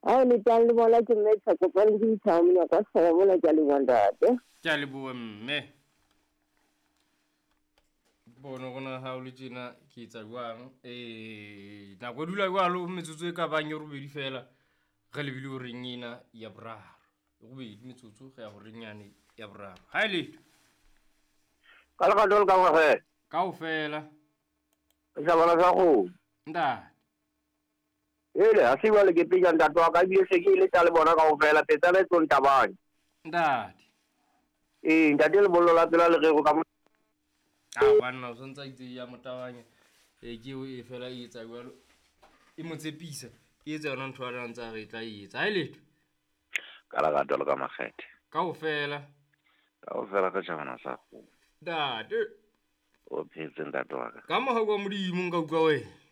Ha o le tang le bona ke mme Tshakopane ke ditshaba monyaka wa setjhaba mona ke a leboha ntate. Ke a leboha mme. Bono rona ha o le tjena ke etsa jwang? Eh, nako e dula jwalo metsotso e ka bang e robedi fela re lebile horeng ena ya boraro. E robedi metsotso re ya horeng yane ya boraro. Ha e letho. Ka lerato le ka ngwagela. Kaofela. Setjhabana sa kgomo. Ntate. Ele, ha se jwale ke peja ntate wa ka ebile se ke e leta le bona kaofela petsana e tlo ntabanya. Ntate. Ee, ntate lebollo la tsela le rero ka mo. A banna o santse a itse ya motabanya. E ke eo e fela e etsa jwalo. E mo tshepisa. E etsa yona ntho a ntse a re e tla e etsa. Ha e letho. Ka lerato le ka makgethe. Kaofela. Kaofela re tjhabana sa kgomo. Ntate. O phetse ntate wa ka. Ka mohau wa Modimo nka utlwa wena.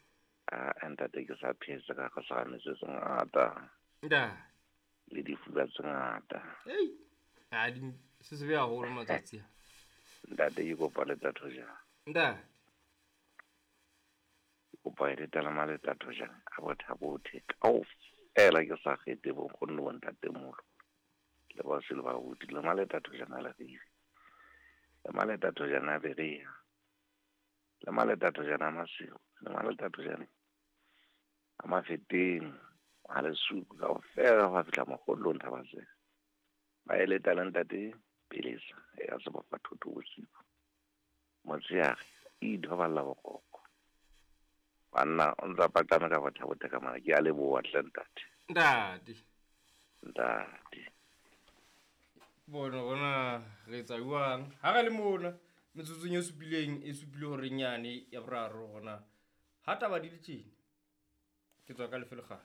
Ah, ntate ke sa phetse ka go metso tse ngata. Ntate. Le difuba tse ngata. Ei. Ha di se se be haholo matsatsi a. Ntate ke kopa le tatho jang. Ntate. Ke kopa e letela ma le tatho jang a botha bothe kaofela ke sa kgethe bo nkgonne bo ntate molo. Le ba se le ba buti le ma le tatho jang a le rive. Le ma le tatho jang a berea. Le ma le tatho jang a masigo. Le ma le tatho jang a mafeteng a lesuku kaofela go fihla mogolong thabatseng. Ba e leta le ntate Pelesa ya sebofa thotho bosigo. Motshehare e ithoballa boroko. Banna o ntsa paqame ka botha-bothe ka mara ke a leboha hle ntate. Ntate. Ntate. Bona bona re etsa jwang? Ha re le mona metsotsong e supileng e supile horeng yane ya boraro hona ha taba di le tjena. Ke tswa ka lefe lekgale.